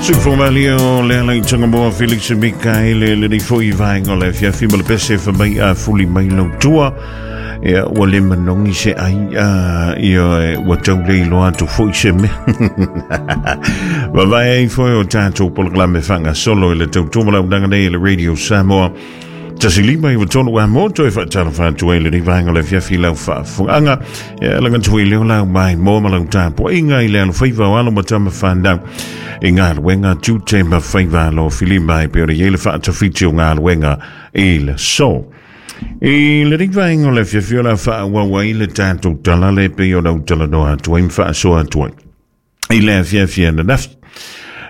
Sufomali o le ala i Tangamoa Felix Mikaele lenei foi vaega o le afiafi ma le pese fa mai a fuli mai lau tua. Ia, ua le manogi se ai, ia, ua tau le iloa atu foi se mea. Vavae ai foi o tatou polokalame faagasolo i le tautua ma launaga nei i le Radio Samoa. 153 a moto e faatalofa atu ai lenei vaega o le afiafi i lau faafofogaaga. Ia, laga atu i leo lau mai mo ma lau tapuaiga i le alofaiva o alo ma tama whanau i galuega tiute ma faiva alo filima e pei ona i ai le faatafiti o galuega i le aso. I lenei vaega o le afiafi o le a faaauau ai le tatou tala le pei ona ou talanoa atu ai ma faasoa atu ai i le afiafi ananafi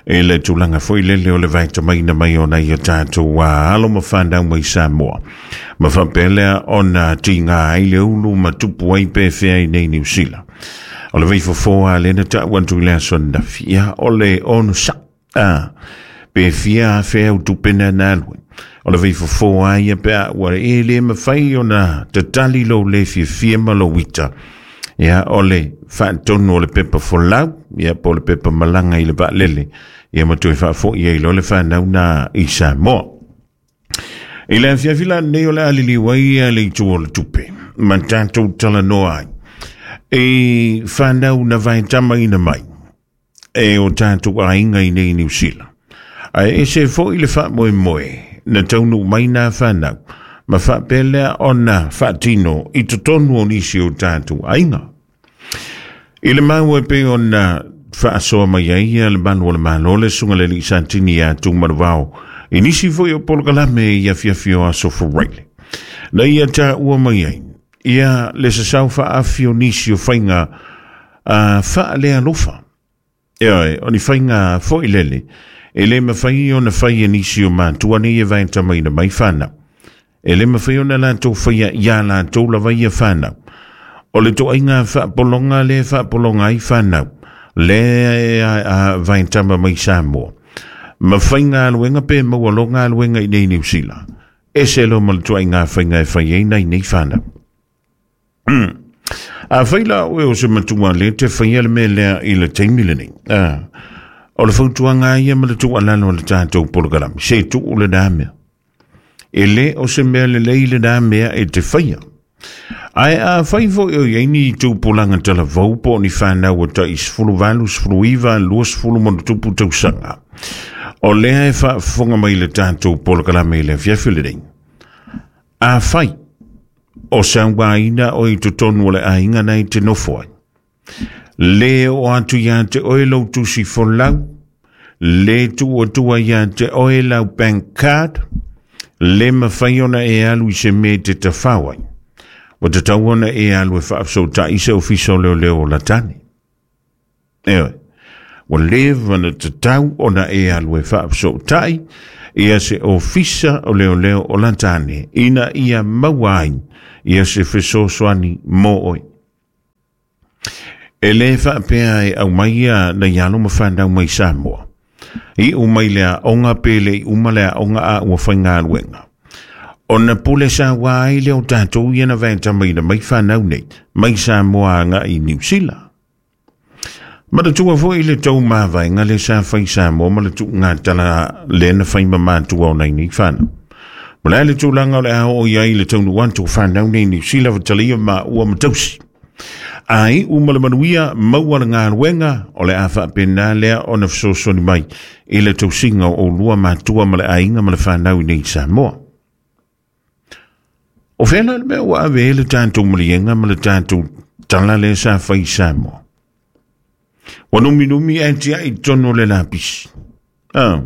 i le tulaga foi lele o le vaetamaina mai o nai o tatou alo ma fanau mai Samoa ma faapea lea ona tiga ai le ulu ma tupu ai pe fea i nei Niu Sila. O le vaifofo a lena ta'u atu i le aso ananafi, ia o le onosai. A, pe fia afe au tupe na na alu ai. O le vaifofo a ia pe a ua e le mawhai ona tatali lou le fiafia ma lou ita. Ia, o le faatonu o le pepa folau, ia, po o le pepa malaga i le vaalele, ia ma toe faafoi ai loa le fanau na i Samoa. I le afiafi la lenei o le a liliu ai le itu o le tupe, ma tatou talanoa ai. I fanau na vaetamaina mai, e o tatou aiga i nei Niu Sila. Ae ese foi le faamoemoe na taunuu mai nā whanau, ma faapea lea ona faatino i totonu o nisi o tatou aiga. I le maua e pei ona faasoa mai ai ia le malu o le Malo le Susuga i le Alii Satini ia Tuumanuvao i nisi foi o polokalame i afiafi o aso Faraile. Na ia taua mai ai ia le sasau faaafi o nisi o faiga faalealofa. Ioe, o ni faiga foi lele, e le mafai ona fai e nisi o matua nei e vaetamaina mai fanau. E le mafai ona latou faia iā latou lava ia fanau. O le toaiga faapologa lea e faapologa ai fanau, lea e vaetama mai Samoa. Ma faigaluega pe maua loa galuega i nei Niu Sila. Ese loa ma le toaiga faiga e fai ai nai nei fanau. A fai la oe o se matua le te faia le mea lea i le taimi lenei. O le fautuaga ia ma le tuualalo a le tatou polokalame, se tuu lena mea. E le o se mea lelei lena mea e te faia. Ae a fai foi o i ai ni tupulaga talavou po o ni fanau ua tai 18, 19, 20 ma ona tupu tausaga, o lea e faafofoga mai i le tatou polokalame i le afiafi lenei. Afai o sauaina oe i totonu o le aiga na e te nofo ai, le oo atu ia te oe lou tusi folau, le tuu atua ia te oe lau bank card, le mawhai ona e alu i se mea e te tawhao ai. Ua tatau ona e alu e faafesootai se ofisa o leoleo o Latane. Ioe. Ua leva ona tatau ona e alu e faafesootai ia se ofisa o leoleo o Latane ina ia maua ai ia se fesoasoani mo oe. E le faapea e aumai ia nai alo ma fanau mai Samoa. Iu mai le aoga pe le i uma le aoga a ua faigaluega. Ona pule saua ai lea o tatou ia na vaetamaina mai fanau nei, mai Samoa agai i Niu Sila. Manatua foi le tou mavaega le sa fai Samoa ma le tuugatala lea na fai ma matua o nai nei fanau. Ma le a le tulaga o le a oo i ai le taunuu atu o fanau nei Niu Sila fatalia maua ma tausi. A iu ma le manuia maua le galuega o le a faapena lea ona fesoasoani mai i le tausiga o oulua matua ma le aiga ma le fanau i nei Samoa. O fea la le mea ua ave ai le tatou maliega ma le tatou tala lea sa fai i Samoa? Ua numinumi ae tiai i totonu o le lapisi. Ah,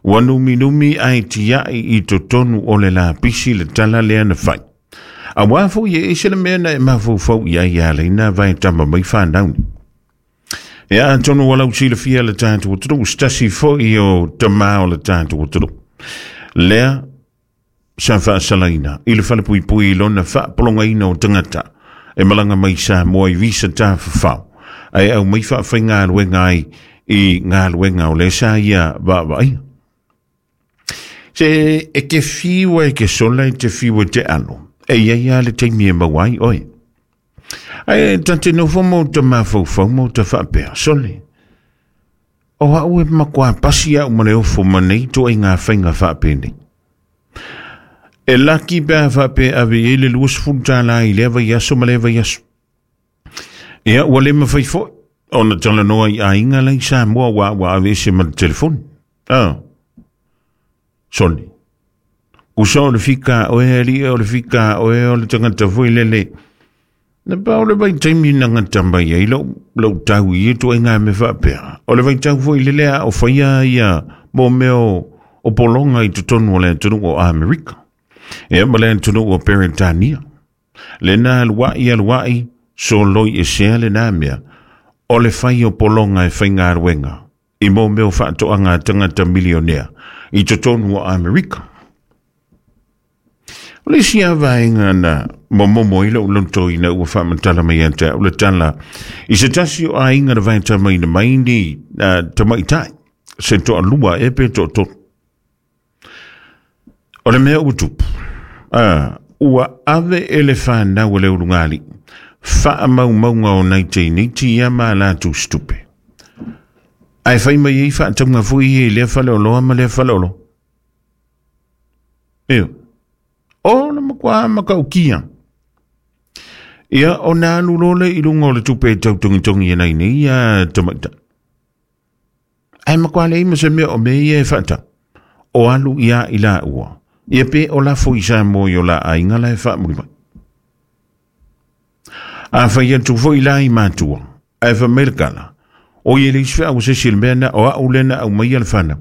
ua numinumi ae tiai i totonu o le lapisi le tala lea na fai. Auā foi e ese le mea na e mafaufau i ai ia leina vae tama mai whanau ni. Ia atonu ua lau silafia le tatou atunuu, se tasi foi o tamā o le tatou atunuu. Lea sa faasalaina i le falepuipui i lona faapologaina o tagata e malaga mai Samoa i visa tafafao ae aumai faafaigaluega ai i galuega o lea sa ia vaavaaia. Se e te fiu e te sola e te fiu e te alo, e iai lava le taimi e maua ai oe. Ae ta te nofo ma o ta mafaufau ma o ta faapea, sole. O au e matua pasi au ma le ofo ma nei ituaiga faiga faapenei. E laki pe a faapea e ave i ai le $20 i lea vaiaso ma lea vaiaso. Ia, ua le mafai foi ona talanoa i aiga la i Samoa aua ua aveese ma le telefoni. Ah, sole. Usa o le fika a oe, alii o le fika a oe, o le tagata foi lele. Na pau le vaitaimi na gata mai ai lou, lou tau i ia ituaiga mea faapea. O le vaitau foi lele a o faia ia mo mea o, o pologa i totonu o le atunuu o Amerika. Ia ma le atunuu o Peretania. Lena aluai aluai, soloi esea lena mea, o le fai o pologa e faigaluega i mo mea o faatoaga a tagata milionea i totonu o Amerika. O le isi lava vaega na momomo ai lou loto ina ua faamatala mai ia te au le tala i se tasi o aiga na vaetamaina mai ni tamaitai se toalua ea pe toatolu. O le mea ua tupu, ua ave e le fanau a le ulugalii faamaumauga o nai teineiti ia ma a latou situpe. Ae fai mai ai faatauga foi ia i lea faleoloa ma lea faleoloa. Io. O le matua matautia. Ia, ona alu loa lea i luga o le tupe e tau togitogi e nai nei ia tamaitai. Ae matua leai ma se mea o mea ia e faatau. O alu ia i laua. Ia pe o lafo i Samoa i o la aiga la e faamuli mai. A fai atu foi la i matua, ae fai mai le tala, o i e leai se feau a se isi i le mea na, o au lea na aumaia le fanau.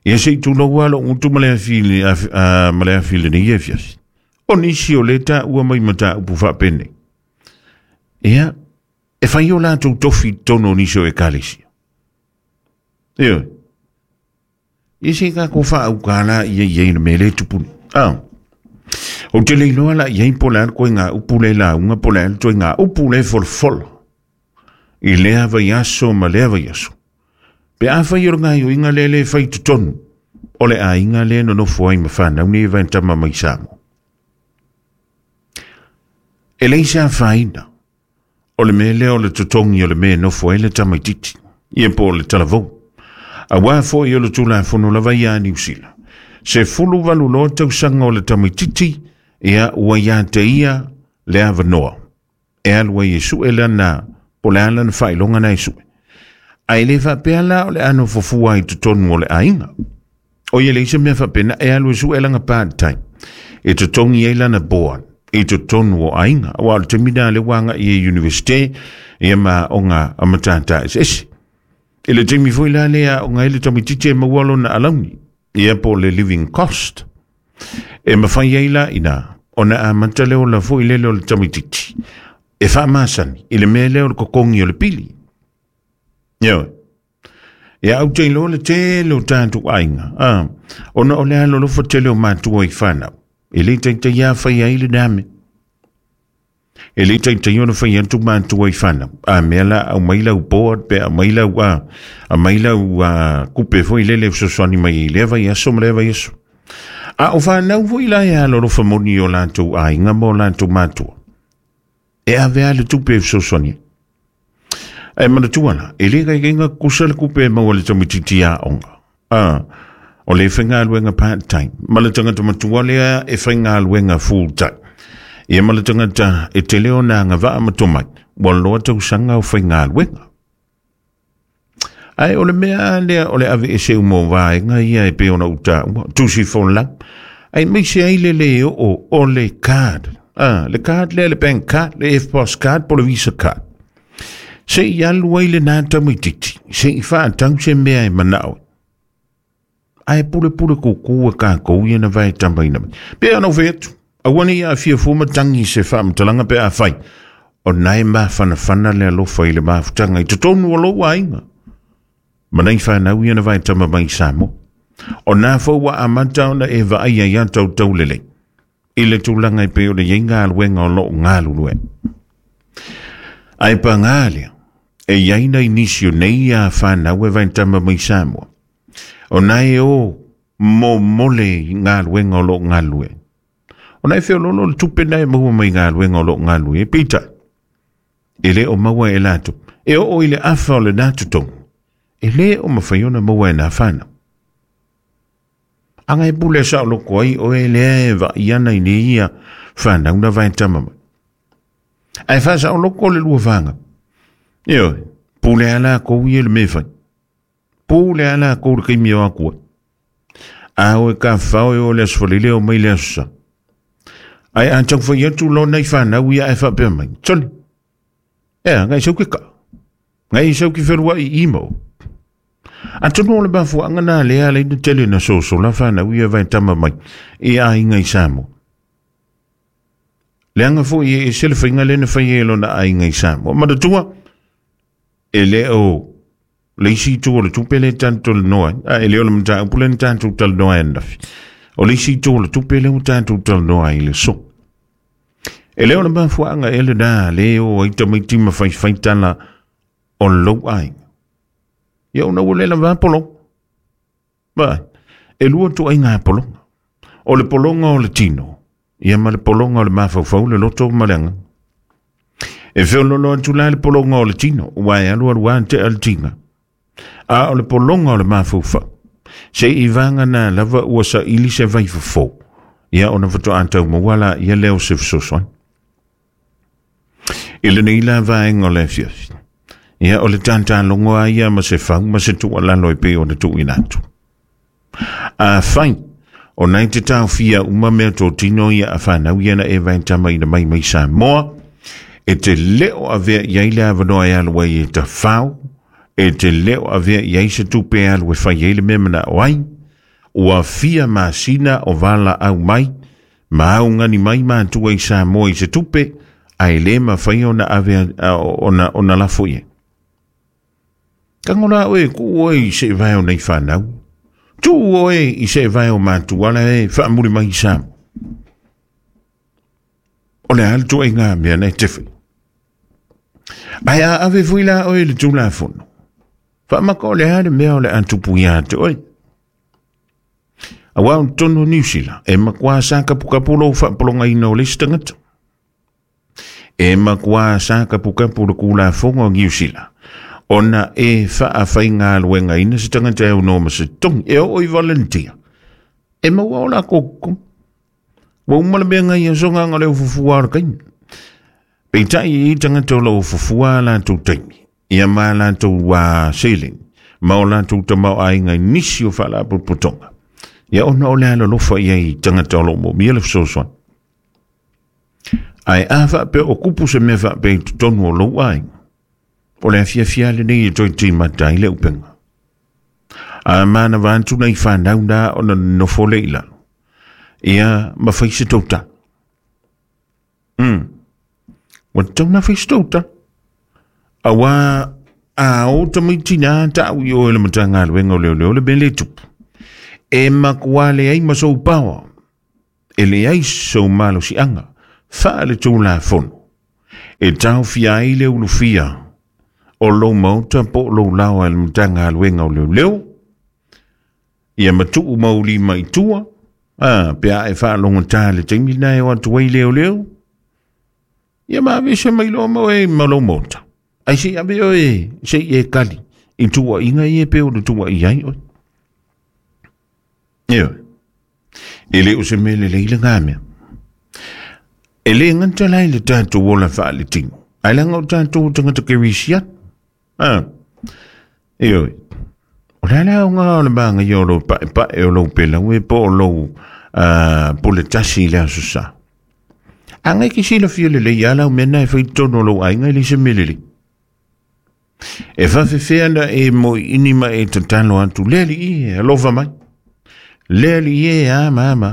Ia se i tulou lava lou gutu ma le afi, ma le afi i lenei afiafi. O nisi o lea taua mai mataupu faapenei. Ia, e fai o latou tofi i totonu o nisi o ekalesia. Ioe. Ia se i tatou faauka la ia i ai le mea lea e tupu nei. Ah. Ou te le iloa la i ai po o le a le ituaiga upu lea e lauga po o le a le ituaiga upu lea e folafola i lea vaiaso ma lea vaiaso. Pe afai o le gaoioiga lea lea e fai i totonu o le aiga lea e nonofo ai ma fanau nei e vaetama mai Samoa. E leai se afaina o le mea lea o le totogi o le mea e nofo ai le tamaitiiti, ia po o le talavou. Aua foi o le Tulafono lava ia a Niu Sila, 18 loa tausaga o le tamaitiiti, ia ua ia te ia le avanoa e alu ai e sue lana, po o le a lana faailoga na e sue. Ae le faapea la o le a nofo fua i totonu o le aiga. O ia leai se mea faapena e alu e sue lana part time e totogi ai lana board i totonu o aiga. Aua o le taimi lena lea ua agai i universite ia ma aoga a matata eseese. I le taimi foi la lea aoga ai le tamaitiiti e maua lona alauni ia po o le living cost. E mafai ai la ina ona amata le ola foi lele o le tamaitiiti e faamasani i le mea lea o le totogi o le pili. Ioe. Ia ou te iloa le tele o tatou aiga, a, ona o le alolofa tele o matua i fanau. E le taitai a fai ai lena mea. E le taitai ona fai atu matua i fanau. A mea la aumai lau board pe aumai lau a, aumai lau a, kupe foi lele e fesoasoani mai i lea vaiaso ma lea vaiaso. A o fanau foi la e alolofa moni i o latou aiga ma o latou matua. E ave a le tupe e fesoasoani ai. Ae manatua la, e le kaikaiga kusa le kupe e maua le tamaitiiti aoga. A, o le faigaluega part time, ma le tagata matua lea e faigaluega full time. Ia ma le tagata e tele ona agavaa ma tomai, ua loa tausaga o faigaluega. Ae o le mea lea o le aveese uma o vaega ia e pei ona ou taua, tusi folau, aemaise ai le lē oo o le card, a, le card lea, le bank card, le EFTPOS card po o le Visa card. Se i alu ai lena tamaitiiti, se i faatau se mea e manao ai. Ae pulepule kuku e kākou ia na vaetamaina mai. Pei ona ou fai atu, aua ne i aafia fua matagi i se faamatalaga pe afai, o na e mafanafana le alofa i le mafutaga i totonu o lou aiga. Ma nai fanau ia na vaetama mai i Samoa. O na foi ua amata ona e vaaia ia tautau lelei i le tulaga e pei ona i ai galuega o loo galulue. Ae pagā lea, e i ai nai nisi o nei ia fanau e vaetama mai i Samoa. O na e o momole i galuega o loo galulue. O na e feololo le tupe na e maua mai galuega o loo galulue. Peitai, E le o maua e latou. E oo i le afa o lena totogi, e le o mafai ona maua e nā whanau. Anga e pule sa o loko ai o e lea e vai ana i nei ia whanau na vai tama mai. Ae whaasa o loko le lua whanga. Io, pule ala kou ia le me whai. Pule ala kou le kaimi o akua. A o e ka whao e o le asfalele o mai le asusa. Ai a tau whai atu lo nei whanau ia e whapea mai. Toli. Ea, ngai sau ke ka. Ngai sau ki wherua i imo. A tonu o le mafuaga na lea ala ina tele na sosola whanau ia vai tama mai i a inga i Samoa. Leaga foi e ese le faiga lea na fai e lona aiga i Samoa. Manatua, e le o le isi itu o le tupe lea tatou talanoa ai, a e le o le mataupu lea na tatou talanoa ai ananafi. O le isi itu o le tupe lea ua tatou talanoa ai i le aso. E le o le mafuaaga ea lena lea e o ai tamaiti ma faifai tala o lou aiga. Ia ona ua le lava pologa. Vaai, e lua ituaiga pologa. O le pologa o le tino, ia ma le pologa o le mafaufau, le loto ma le agaga. E feololo atu la le pologa o le tino, ua e alu alu a tea le tiga. A o le pologa o le mafaufau, se i vagana lava ua saili se vaifofo, ia ona faatoa tau maua la ia lea o se fesoasoani. I lenei la vaega o le afiafi, ia o le tatalogo a ia ma se fau ma se tuualalo e pei ona tuuina atu. Afai o nai te taofia uma mea totino ia a whanau ia na e vaitama ina mai mai Samoa, e te leo avea i ai le avanoa e alu ai e tawhao, e te leo avea i ai se tupe e alu e whai ai le mea manao ai, ua fia masina o vala au mai, ma augani mai matua i Samoa i se tupe, ae le mafai ona ave ona lafo i ai. Tango la oe, kuu oe i se vae o nei whanau. Tuu oe i se vae o matua la e whaamuri mai i Samoa. O le a le tuaiga mea nei te whai. Ae a ave fui la oe le tulafono. Whaamaka o le a le mea o le a tupu ia te oe. Aua o totonu o Niu Sila, e makuā sākapukapu lou faapologaina o le isi tagata. E makuā sākapukapu le kulafono o Niu Sila, ona e faafaigaluegaina se tagata e aunoa ma se togi, e oo i volunteer. E maua o lakou totogi. Ua uma le mea ngai aso nganga o le ufufua o le taimi. Peitai e i tagata o lo o fufua a latou taimi, ia ma latou seleni, ma o latou tamaoaiga i nisi o faalapotopotoga. Ia ona o le alolofa i ai i tagata o lo o moomia le fesoasoani. Ae a faapea o kupu se mea faapea i totonu o lou aiga, o le afiafi lava lenei e toe timata ai le upega. A manava atu nai fanau na ona nonofo lea i lalo, ia ma fai se touta. Ua tatau ona fai se touta. Auā a o tamaiti nā ta'u i o e le Matagaluega o Leoleo le mea lea e tupu. E makuā leai ma sou paoa, e leai sou malosiaga faaletulafono e taofia ai le ulufia o lou maota po o lou laoa e le Matagaluega o Leoleo, ia matuu mau lima i tua, a, pe a e faalogotā le taimi lena e o atu ai leoleo, ia ma aveese mai loa ma oe ma lou maota. Ai se i ave oe, se i e kali i tuuaiga ia e pei ona tuuaia ai oe. Ioe. E le o se mea lelei lena mea. E le gata la i le tatou ola faaletino, ae leaga o tatou o tagata kerisiano. A, ioe. O le a le aoga o le magaia o lou paepae o lou pelaue po o lou pule tasi i le Aso Sa? A ngai ke silafia lelei a lau mea na e fai totonu o lou aiga e le se mea lelei. E faafefea na e moiini ma e tatalo atu, le alii e, alofa mai. Le alii e, a ma ma.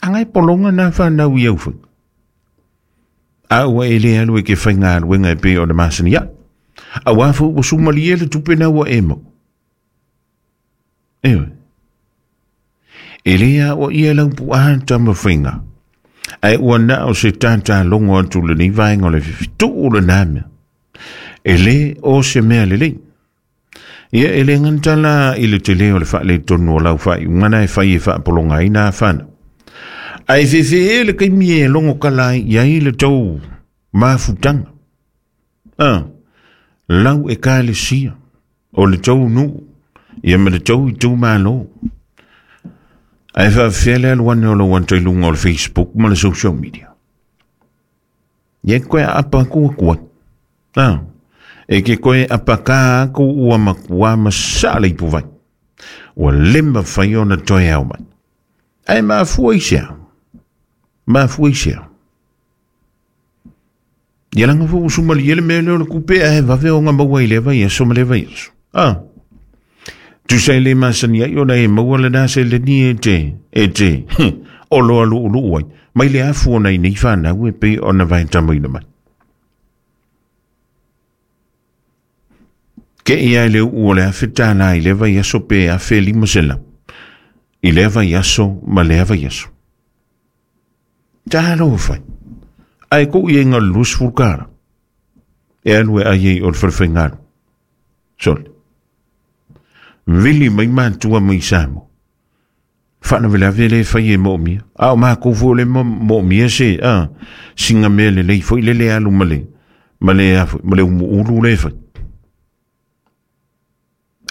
A ngai pologa na whanau i au whai. A ua e le alu e ke whaingaluega e pei o le masani ai. Auā foi ua sumalie le tupe na ua e mau. Ioe. E le aoaia lau puaa tamafaiga, ae ua na o se tātālogo atu lenei vaega o le tuu lena mea. E le o se mea lelei. Ia e le gata la i le tele o le faaletonu o lau faaiuga na e fai e faapologa ai nā whanau. Ae fefe e le taimi e logo kala ai i ai le tau mafutanga. A, lau ekalesia, o le tou nuu, ia ma le tou itumalo. Ae faafefea le alu ane o lou ata i luga o le Facebook ma le social media. Ia e koe aapa aku aku ai. A, e ke koe apakā aku ua makuā masaa le ipuvai. Ua le mafai ona toe ao mai. Ae mafua i se a? Mafua i se a? Ia laga foi ua sumalie le mea lea o le kupe ae vave ona maua i lea vaiaso ma lea vaiaso. A, tusa e le masani ai ona e maua lena seleni e te, e te, oloa lu'ulu'u ai, mai le afu ona i nei fanau e pei ona vaetamaina mai. Ke ia i le uu o le $1,000 i lea vaiaso pe $1,500 i lea vaiaso ma lea vaiaso. Talofa e. Ae kou i ai na o le $20 e alu e ai ai o le falefaigalu. Sole. Vili mai matua mai Samoa. Faalavelave le fai e moomia. A o makou foi o le moomia se a singa mea lelei foi lele alu ma le ma le a foi ma le umuulu le fai.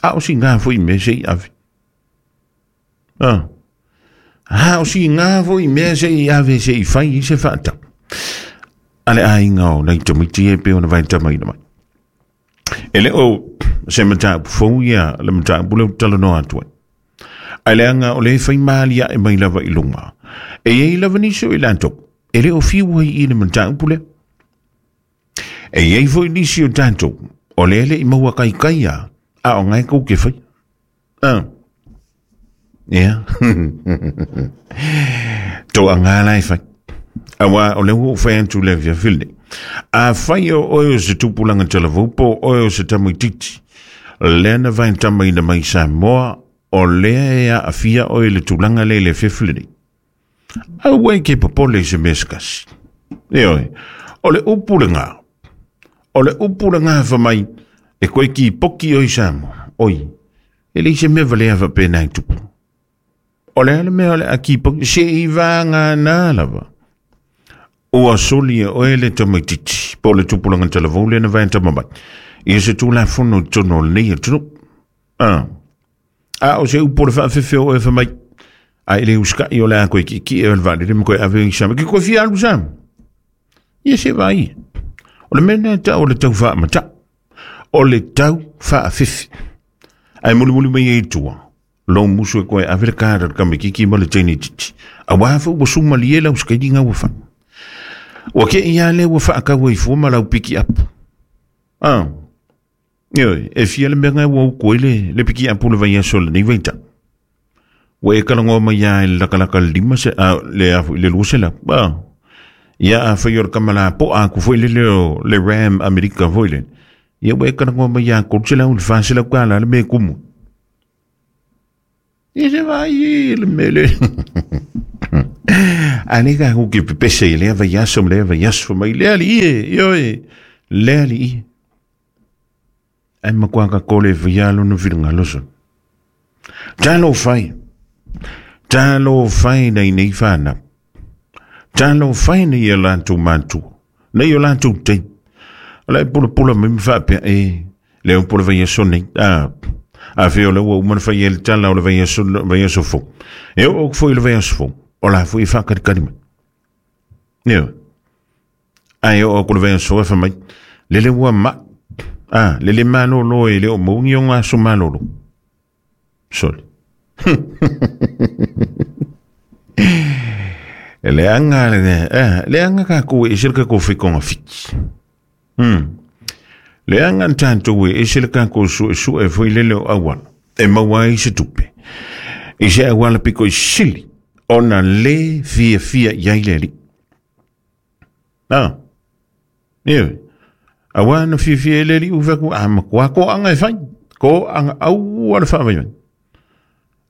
A o singa foi mea se i ave. A a o singa foi mea se i ave se i fai i se faatau. A le aiga o nai tamaiti e pei ona vaetamaina mai. E le o se mataupu fou ia le mataupu lea ou te talanoa atu ai. Ae leaga o lea e fai malie mai lava i luga. E i ai lava nisi o i latou, e le o fiu ai i le mataupu lea. E i ai foi nisi o tatou, o lea e le i maua kaikai a, a o ngae kou ke fai. Ah. Ia. Toaga la e fai. Auā o lea ua ou fai atu i le afiafi lenei. Afai o oe o se tupulaga talavou po o oe o se tamaitiiti, lea na vaetamaina mai Samoa, o lea e aafia oe i le tulaga lea i le afiafi lenei. Aua e ke popole i se mea se kasi. Ioe, o le upu lena, o le upu lena fa mai, e koe kipoki oe i Samoa, oi, e leai se mea valea faapena e tupu. O le a le mea o le a kipoki, se i vagana lava. Ua soli e oe le tamaitiiti, po o le tupulaga talavou lea na vaetama mai, ia se Tulafono i totonu o lenei atunuu. Ah. A o se upu o le faafefe o oe fai mai, a e le usikai o le a koe ki'eki'e o le vaalele ma koe ave i Samoa. Ke koe fia alu Samoa? Ia se vai. O le mea lena e tau o le tau faamata. O le tau faafefe. Ae mulimuli mai ai i tua, lou musu e koe ave le kara le tamaitiiti ma le teine itiiti. Auā foi ua sumalie lau sikailiga ua fai. Ua te i lava lea ua faatau ai fua ma lau pikiapu. Ah. Ioe, e fia le mea na ua utu ai le, le pikiapu le vaiaso o lenei vaitau. Ua e talanoa mai lava i le latalata le lima se, a, le, a, le 200. Ah. Ia afai o le tama lapoa atu foi lele o le Ram Amerika foi lele. Ia ua e talanoa mai lava 300 i le $400 le mea e tumu. Ia se vai i le mea le. A le ka ku ke pepese i lea vaiaso ma lea vaiaso mai le alii e, ioe, le alii. Ae matua ka kole faia lona finagalo sona. Talofa e, talofa e nei nei whanau. Talofa e nei e latou matua, nei o latou teina. O la e pulapula mai ma faapea, e, le upu o le vaiaso nei, a, a fea o lea ua uma ona fai ai le tala o le vaiaso, vaiaso fou. E oo atu foi i le vaiaso fou, o la foi e faakalikali mai. Ioe. Ae oo atu le vaiaso e fai mai, lele ua ma'i, a, lele malolo e le o maua ni ona aso malolo. Sole. E leaga, leaga tatou e ese le tatou fai togafiti. Leaga tatou e ese le tatou suesue foi lele o auala e maua ai se tupe. I se auala pito i sili ona le fiafia i ai le Alii. Ah. Ioe. Auā na fiafia ai le Alii ua fai atu, a matua toaga e fai, toaga aua le faavaivai.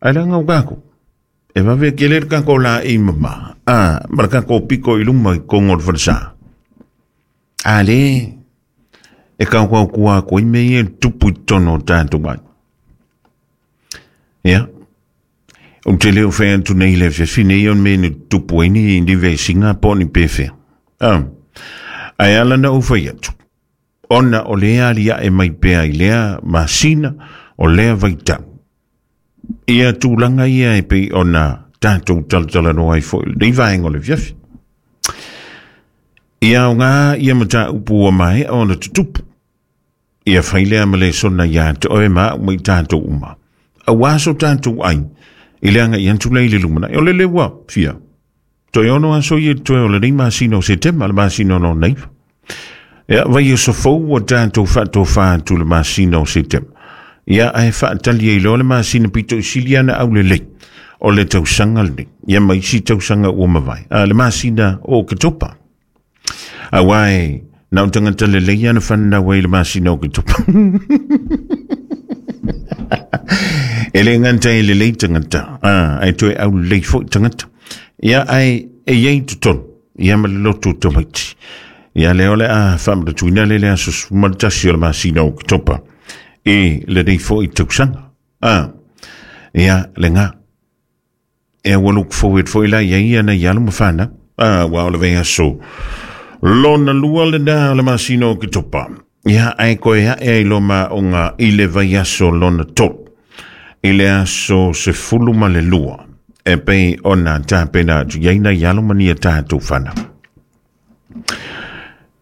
Ae leaga o tatou, e vave tele le tatou laei mama, a, ma le tatou pito i luma i totonu o le falesa. A le, e tautautua atu ai mea ia e tupu i totonu o tatou aiga. Ia, ou te le o fai atu nei i le afiafi nei o le mea na tutupu ai ni, ni vesiga po o ni pefea. Ah, ae ala na ou fai atu, Ona o lea aliae mai pea i lea masina o lea vaitau. Ia tulaga ia e pei ona tatou talatalanoa ai foi i lenei vaega o le afiafi. Ia aoga ia mataupu ua maea ona tutupu. Ia fai lea ma lesona ia te oe ma au ma i tatou uma. Aua so tatou ai i le agai atu lea i le lumanai. O lele ua fia. Toe 6 aso ia toe o lenei masina o Setema, le masina o lona 9. Ia, vaiaso fou ua tatou faatofa atu le masina o Setema. Ia, ae faatali ai loa le masina pito i sili ana aulelei o le tausaga lenei. Ia, ma isi tausaga ua mavae. A, le masina o Oketopa. Aua e na o tagata lelei ana whanau ai le masina o Oketopa. E le ngata e lelei tagata. A, ai toe aulelei foi tagata. Ia, ai e iai totonu. Ia ma le loto tamaiti. Ia lea o le a whamaratuina le le aso 11 o le masina o Oketopa. E lenei foi tausaga. A, ia le ngā. E ua look forward foi la ia ia na ia ma whana. A, ua o le vaiaso. Lona lua le nā o le masina o Oketopa. Ia, ai koe ae ai loma o ngā i le vaiaso lona 3. I le aso 12. E pei ona tāpena atu iai na i alo mania tātou whana.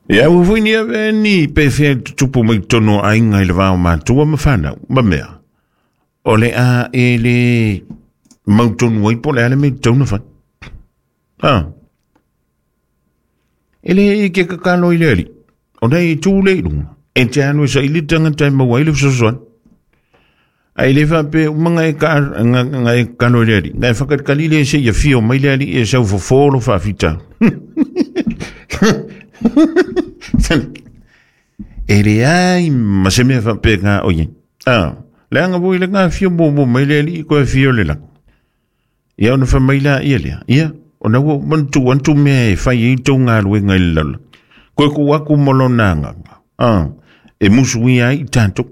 Ia, ua foi ni ave ni pe whea tutupu mai tono ainga i le vao mātua ma whanau, ma mea. O le a e le mautonu ai po le ale me tauna whai. Ah. E le e ke kakalo i le ali. O nei e tū le ilunga. E te anu e sa ili tangata e maua i le fesoasoani. Ai le whape umanga e ka nga e kano i le ali. Ngai whakatkali le se ia fio mai le ali e sau fofolo whaafita. E le ai ma se mea whape ngā oie. Ah, le anga voi le ngā fio mō mō mai le ali i koe fio le langa. Ia ona wha mai la ia lea. Ia, ona ua mantu antu mea e whai i tō ngā ruenga i le laula. Koe ku aku molona nganga. Ah, e musu ia i tātou.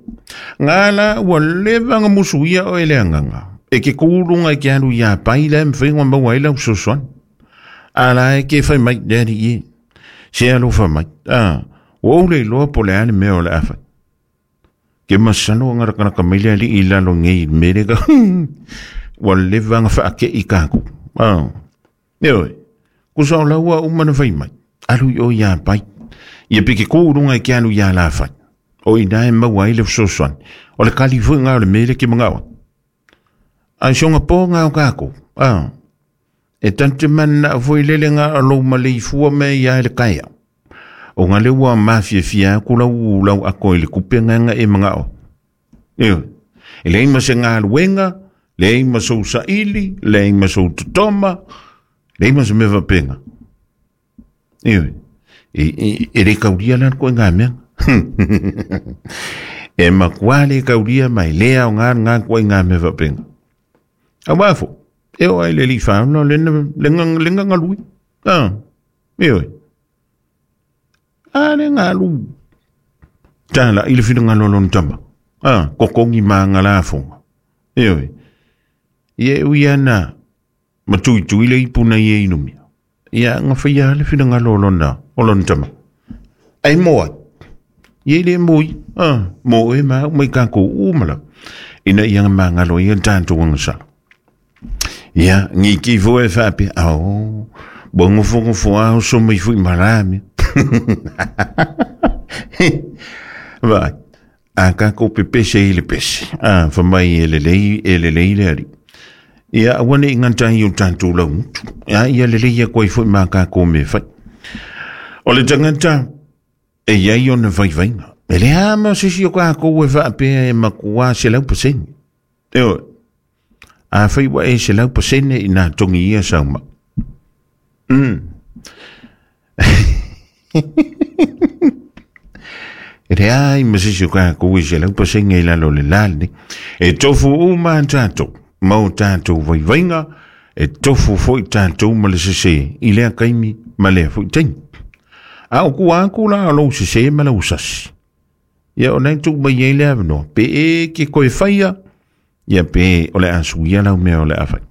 Ngā la ua leva ngā musu ia o ele anganga. E ke kūrunga i ke alu ia pai la e mwhainga maua i lau sosoan. A la e ke whai mai le ari i. Se alofa mai. Ah, ua ule loa po le ale mea o le awhai. Ke masalo ngara kanaka mai le ali i lalo ngei mere ka. Ua leva nga whaake i kāku. Ah. Eoi, kusa o laua umana whai mai. Alu i o ia pai. Ia peke kūrunga i ke alu ia la whai. O i nā e maua ai le fesoasoani. O le kali foi ngā o le mere ke mangawa. Ai songa pō ngā o kākou. Ah. E tante mana foi lele ngā alo ma le ifua me ia e le kaea. O ngā leua mafia fia aku lau lau ako i le kupe nganga e mangao. Eoi, e leai ma se galuega, leai ma sou saili, leai ma sou totoma, leai ma se mea faapena. Eoi, e le kaulia la le koe ngā mea. E makuā le kaulia ma e le aoga ngā koe ngā mea faapena. Auā fo, e o ai le alii whāuna le le ngagalui. Ah, eoi. A le ngalu. Tāla i le whirangalo lona tama. Ah, kokongi mā ngā lāfonga. Eoi. Ia e ui ana, ma tuitui le ipu nei e inumia. Ia nga whaia le whirangalo lona, o lona tama. Ai moa. Ia le moi. Ah, mo e ma mai ka ko umala. Ina ia nga mangalo ia tātou anga sala. Ia, ngi ki fo e whape. Ao, bo ngofo ngofo ao so mai fui marami. Vai. A ka ko pe pese i le pese. A, fa mai e le lei, e le lei le ari. Ia, aua ne i ngata i o tātou lau mutu. Ia, ia le lei a koe fo i mā ka ko me whai. O le tangata, e iai ona vaivainga. E le a ma se si o ka ko e whaapea e makua se lau pasene. Eo, a whai wa e se lau pasene i nā tongi ia sauma. E le ai ma se si o ka ko e se lau pasene i lalo le lale. E tofu uma tātou, mau tātou vaivainga, e tofu foi tātou ma le sese i lea kaimi ma lea foi taimi. A o ku aku la o lou sese ma lau sasi. Ia o nei tu mai ei le avanoa. Pe e ke koe whaia, ia pe o le asu ia lau mea o le a whai.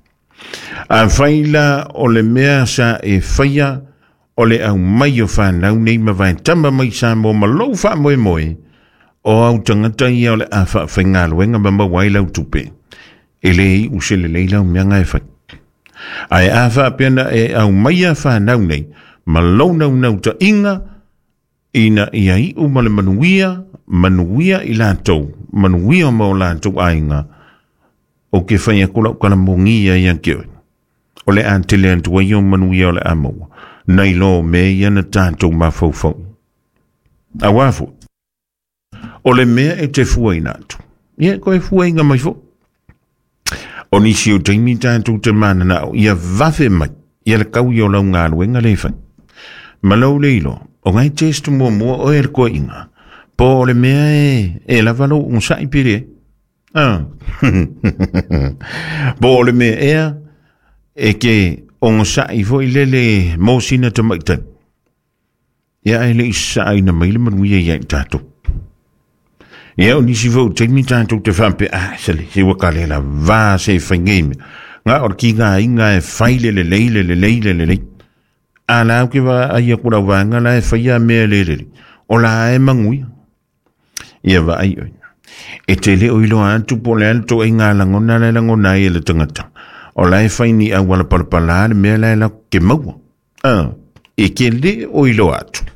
A whai la o le mea sa e whaia O le aumai o fanau nei ma vaetama mai Samoa ma lou faamoemoe, o au tagata ia o le a faafaigaluega ma maua ai lau tupe, e le iu se lelei lau meaga e fai. Ae a faapea na e aumaia fanau nei ma lou naunautaiga ina ia iu ma le manuia, manuia i latou, manuia ma o latou aiga, o ke fai aku lau kalamogi ia ia ke oe. O le a tele atu ai o manuia o le a maua, nai lo mea ia na tatou mafaufau. Auā foi, o le mea e te fuaina atu, ia e koe fuaina mai foi. O nisi o taimi tatou te mananao ia vave mai ia le kau i o lau galuega le fai. Ma lou le iloa, o ngai test muamua oe le koaiga, po o le mea e lava lou onosai pe leai. Ah. Po o le mea ea e ke onosai foi lele mo sina tamaitai. Ia ae le i sasaaina mai le manuia ia i tatou. Ia o nisi foi o taimi tatou te faapea, ah, sale, se ua ka le lavā se e fai nei mea. Nga o le kigaaiga e fai le lelei, le lelei, le lelei. A la au ke vaai aku lau vaega la e faia mea le lelei. O la e manuia. Ia vaai oe. E te le o iloa atu po o le a le toaiga lagona la e lagona ai e le tagata. O la e fai ni auala palapala le mea la e latou ke maua. Ah, e ke le o iloa atu.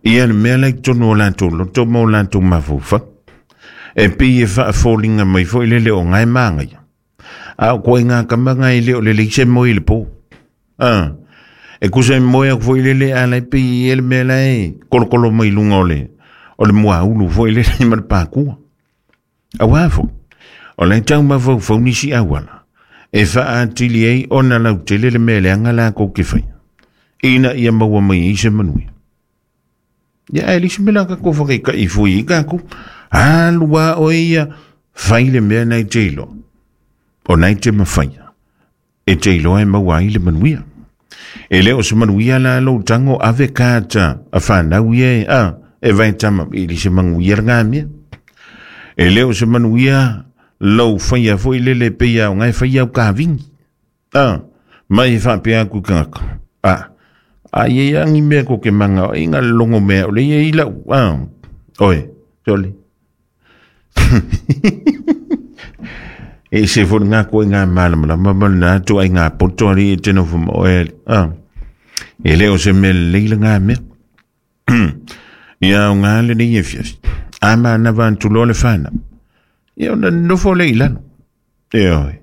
Ia le mea la i totonu o latou loto ma o latou mafaufau. E pei e faafoliga mai foi lele o ngae māgaia. A o koe ngā kama ngā e le o lelei se moe i le pō. Ah, e kusa e moe aku foi lele a lai pei e le mea la e kolokolo mai lunga o le o le muaulu foi lele ma le pākua. Auā foi, o lai tau mafaufau nisi auala e faaatili ai ona lautele le mea leaga lakou ke faia, ina ia maua mai ai se manuia. Ia ae leai se mea la tatou whakaika'i fui i tatou. Alu a oe ia, fai le mea na e te iloa. O na e te mawhaia. E te iloa e maua ai le manuia. E le o se manuia la lou tago ave kata a whanau ia e, a, e vai tama, e le se manuia le ngā mea. E le o se manuia lou whaia foi lele pei au ngai whaia au kāwingi. A, mai e whaapea aku i kangaka. A, a ia ia angi mea ko ke manga o inga longo mea o le ia i lau. A, oe, sole. E se fo ngā koe ngā malamalama ma nā tu ai ngā poto ari e tino fuma oe. A, e leo se mea leila ngā mea. Ia o ngā le nei e fiafi. A mana vantuloa le whānau. Ia ona nofo le i lalo. E oe,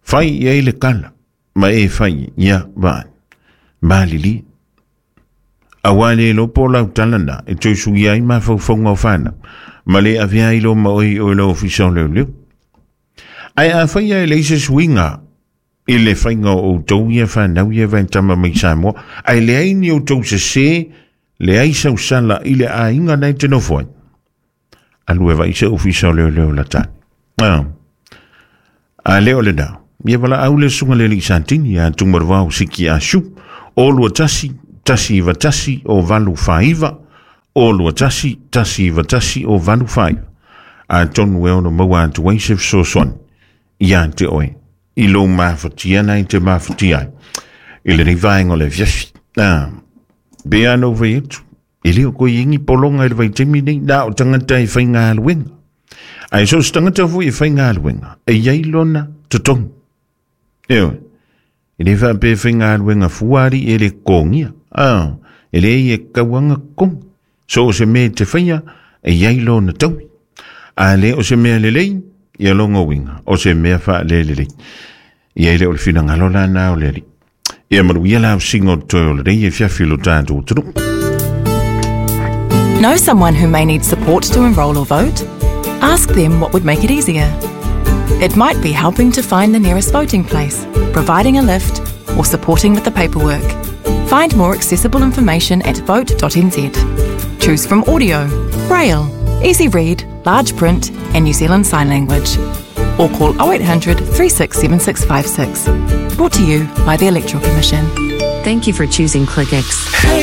fai i ai le kala, ma e fai ia vaai. Malili. Auā le iloa po o lau tala na e toe suia ai mafaufauga o fanau, ma le avea ai loa ma oe i oe lau ofisa o leoleo. Ae afai ae leai se suiga i le faiga o outou ia fanau ia vaetama mai Samoa, ae leai ni outou sesē, leai sau sala i le aiga na e te nofo ai, alu e vaai se ofisa o leoleo la tane. Ah. A le o le na, ia valaau le susuga le alii Santini ia Tumaravao Siki Ashu, o 21 191 o 89, o 21 191 o 89. Atonu e ono maua atu ai se fesoasoani ia te oe i lou mafatia na i te mafatia ai i lenei vaega o le afiafi. Ah, pe a nou fai atu, E le o koe ingi polonga i le vaitaimi nei, na o tagata e faigaluega. Ae so o se tagata foi e faigaluega, e i ai lona totogi. Ioe, e le faapea e faigaluega fua alii e le totogia. Ah, e leai e tatau lava ona totogi. So o se mea e te faia, e i ai lona taui. A le o se mea lelei, ia lona uiga, o se mea faalelelei. Ia e le o le finagalo la na o le Alii. Ia manuia la usiga o toe o lenei afiafi i lo tatou atunuu. Know someone who may need support to enrol or vote? Ask them what would make it easier. It might be helping to find the nearest voting place, providing a lift, or supporting with the paperwork. Find more accessible information at vote.nz. Choose from audio, braille, easy read, large print, and New Zealand Sign Language. Or call 0800 367656. Brought to you by the Electoral Commission. Thank you for choosing ClickX.